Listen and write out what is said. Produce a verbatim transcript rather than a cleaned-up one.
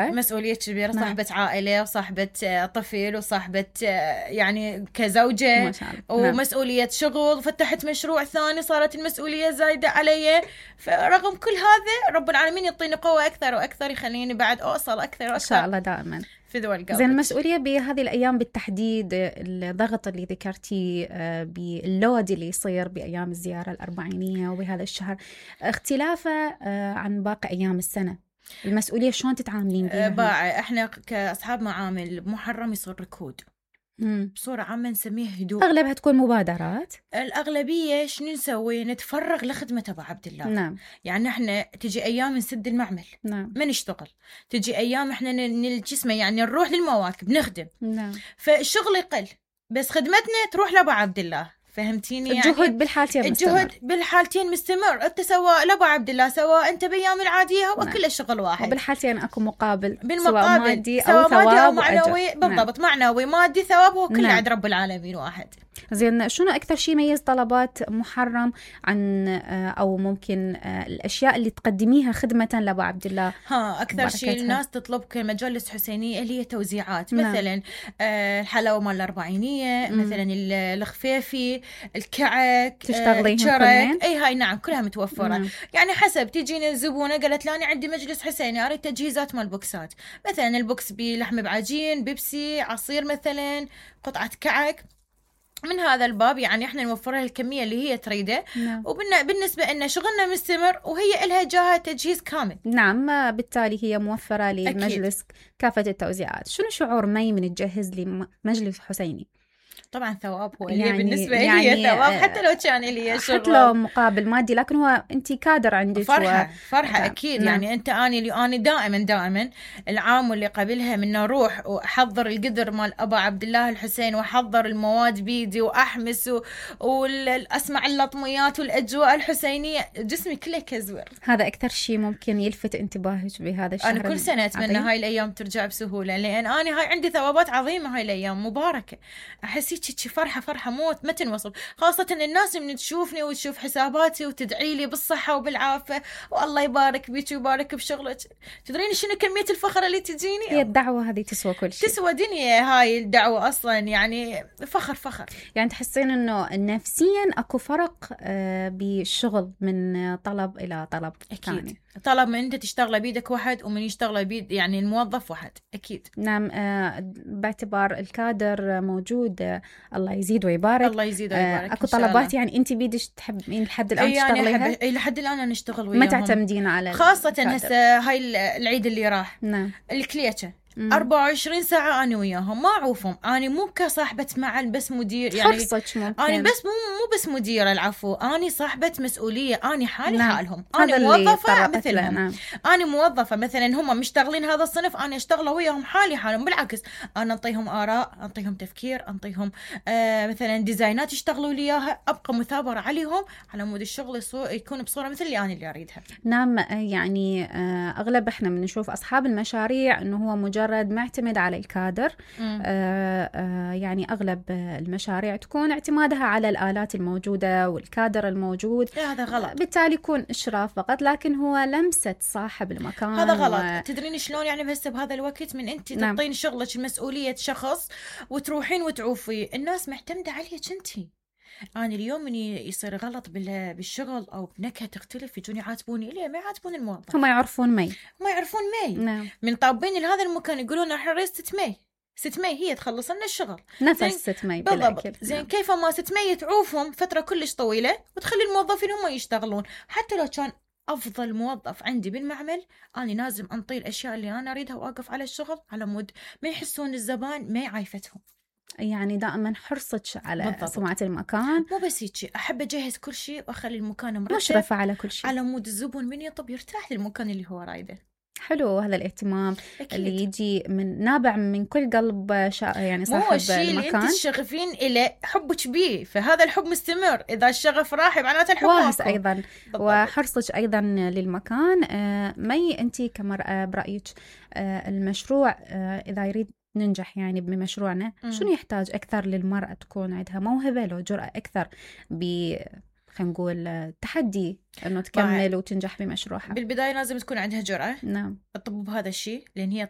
مسؤولية كبيرة، نعم. صاحبة عائلة وصاحبة طفل وصاحبة يعني كزوجة ما شاء الله. نعم. ومسؤولية شغل، فتحت مشروع ثاني صارت المسؤولية زايدة علي. فرغم كل هذا رب العالمين يعطيني قوة أكثر وأكثر، يخليني بعد أوصل أكثر وأكثر إن شاء الله دائما في ذول قلبك. زين، المسؤولية بهذه الأيام بالتحديد، الضغط اللي ذكرتي باللود اللي يصير بأيام الزيارة الأربعينية وبهذا الشهر، اختلافه عن باقي أيام السنة، المسؤولية شلون تتعاملين بيها؟ باع احنا كأصحاب معامل بمحرم يصير ركود. مم. بصورة عامة نسميه هدوء. أغلبها تكون مبادرات. الأغلبية شنو نسوي؟ نتفرغ لخدمة أبو عبد الله. نعم. يعني احنا تجي أيام نسد المعمل. نعم. ما نشتغل. تجي أيام احنا نلجسمه يعني نروح للمواكب نخدم. نعم. فالشغل يقل بس خدمتنا تروح لأبو عبد الله. فهمتيني؟ يعني الجهد بالحالتين مستمر. الجهد بالحالتين مستمر. انت سواء لابو عبد الله سواء انت بايام العاديه هو نعم. كل الشغل واحد، وبالحالتين اكو مقابل بالمقابل سواء مادي سواء او ثواب مادي أو وأجر. معنوي. بالضبط. نعم. معنوي مادي ثواب هو كله نعم. عند رب العالمين واحد. زين، شنو أكثر شيء يميز طلبات محرم عن أو ممكن الأشياء اللي تقدميها خدمة لأبو عبد الله؟ ها أكثر شيء الناس تطلب كمجالس حسينية اللي هي توزيعات. نعم. مثلا الحلاوة مال الأربعينية، مم. مثلا الخفيفي، الكعك، تشتغليهم شرك، كلين؟ أي هاي نعم كلها متوفرة. نعم. يعني حسب تجينا الزبونة قالت لي أنا عندي مجلس حسيني أريد تجهيزات مال بوكسات، مثلا البوكس بلحم بعجين، بيبسي، عصير، مثلا قطعة كعك، من هذا الباب يعني احنا نوفرها الكميه اللي هي تريده. نعم. وبالنسبه لنا شغلنا مستمر وهي إلها جاهه تجهيز كامل. نعم، بالتالي هي موفره للمجلس كافه التوزيعات. شنو شعور مي من تجهز لمجلس حسيني؟ طبعا ثواب هو اللي يعني بالنسبه يعني لي ثواب، حتى لو كان لي شغل، حتى لو مقابل مادي، لكن هو انت كادر عندك فرحه و... فرحه اكيد. نعم. يعني انت اني اللي اني دائما دائما العام واللي قبلها من اروح واحضر القدر مال ابا عبد الله الحسين واحضر المواد بيدي واحمس و... واسمع اللطميات والاجواء الحسينيه، جسمي كله كزور. هذا اكثر شيء ممكن يلفت انتباهك بهذا الشهر. انا كل سنه اتمنى هاي الايام ترجع بسهوله، لان انا هاي عندي ثوابات عظيمه. هاي الايام مباركه، احس هيك فرحه فرحه موت ما تنوصف. خاصه الناس من تشوفني وتشوف حساباتي وتدعي لي بالصحه وبالعافيه والله يبارك بيك ويبارك بشغلك. تدرين شنو كميه الفخر اللي تجيني؟ هي الدعوه هذه تسوى كل شيء، تسوى دنيا هاي الدعوه اصلا. يعني فخر فخر. يعني تحسين انه نفسيا اكو فرق بالشغل من طلب الى طلب ثاني؟ اكيد طلب من انت تشتغل بيدك واحد ومن يشتغل بيد يعني الموظف واحد. اكيد. نعم. باعتبار الكادر موجود، الله يزيد ويبارك. الله يزيد ويبارك. اكو طلبات يعني انت بيدك تحبين لحد الان يعني تشتغليها؟ اي لحد الان انا نشتغل وياهم. ما تعتمدين على خاصه هسه هاي العيد اللي راح. نعم. الكليتشه أربعة وعشرين ساعة أنا وياهم ما أعوفهم. أنا مو كصاحبة معل بس مدير، يعني حرصك ممكن. أنا بس مو مو بس مديرة، العفو، أنا صاحبة مسؤولية. أنا حالي نعم. حالهم. أنا موظفة مثلهم. نعم. أنا موظفة مثلا هم مشتغلين هذا الصنف، أنا أشتغل وياهم حالي حالهم. بالعكس أنا أنطيهم آراء، أنطيهم تفكير، أنطيهم آه مثلا ديزاينات يشتغلوا لي إياها، أبقى مثابرة عليهم على مود الشغل يكون بصورة مثل اللي أنا اللي أريدها. نعم. يعني أغلب إحنا بنشوف أصحاب المشاريع إنه هو مجرد معتمد على الكادر. آه آه يعني أغلب المشاريع تكون اعتمادها على الآلات الموجودة والكادر الموجود. هذا غلط. بالتالي يكون إشراف فقط، لكن هو لمسة صاحب المكان. هذا غلط. و... تدرين شلون يعني بس بهذا الوقت من أنت نعم. تعطين شغلك مسؤولية شخص وتروحين وتعوفي الناس معتمدة عليك أنتي. أنا اليوم من يصير غلط بالشغل أو بنكهة تختلف يجوني يعاتبوني. ليه ما يعاتبون الموظف؟ هم يعرفون مي ما يعرفون مي. نعم. من طابين لهذا المكان يقولون احنا نريد ست مي. ست مي هي تخلص لنا الشغل. نفس ست مي بالضبط. زين. نعم. كيف ما ست مي تعوفهم فترة كلش طويلة وتخلي الموظفين هم يشتغلون. حتى لو كان أفضل موظف عندي بالمعمل، أنا لازم أنطي الأشياء اللي أنا أريدها وأقف على الشغل على مود ما يحسون الزبائن ما عايفتهم. يعني دائما حرصك على بالضبط. سمعة المكان. مو بس هيك، أحب أجهز كل شيء وأخلي المكان مرتب، مشرفة على كل شيء، على مود الزبون من يطب يرتاح للمكان اللي هو رايده. حلو هذا الاهتمام. أكيد. اللي يجي من نابع من كل قلب شا... يعني صاحب مو الشيء المكان. اللي انت تشغفين إليه حبك بيه، فهذا الحب مستمر. إذا الشغف راح معناته الحب واهس ماكو. أيضا. بالضبط. وحرصك أيضا للمكان. آه مي أنت كمرأة برأيك آه المشروع آه إذا يريد ننجح يعني بمشروعنا، شنو يحتاج أكثر للمرأة؟ تكون عندها موهبة لو جرأة أكثر ب خلينا نقول تحدي انه تكمل وتنجح بمشروعها. بالبدايه لازم تكون عندها جرأة نعم تطب بهذا الشيء، لان هي